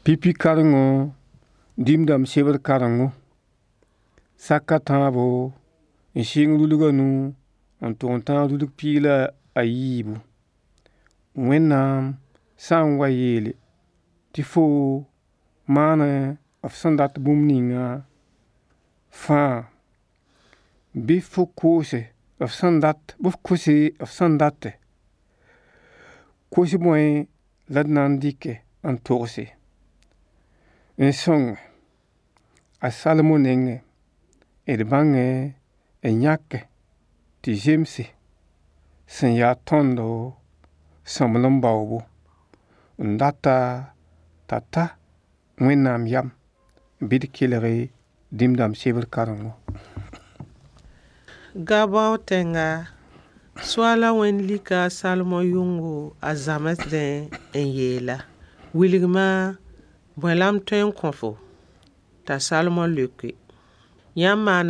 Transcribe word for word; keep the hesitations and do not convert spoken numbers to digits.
Pipi karengo dĩm-dãmb sebr karengo. Sak a tãabo n sɩng rulg a nu n tʋg n tãag rulg piig la a yiibu. Wẽnnaam sã n wa yeele tɩ foo maana f sẽn dat bũmb ninga fãa, bɩ fo koose f sẽn dat, bɩ f kose f sẽn date. Kos bõe la d na n dɩke n togse n sõng a Salmo nengẽ d bãngẽ n yãke tɩ zemse sẽn ya tõndo sõmblem baoobo n data t'a ta Wẽnnaam yam bɩ d kelg dĩm-dãmb sebr karengo. Gabao tẽnga Soaala wẽnd lika a Salemo yʋngo a zãmsdẽ n yeela: Wilg-ma bõe la m tõe n kõ-fo? T'a Salemo leoke: Yãmb maana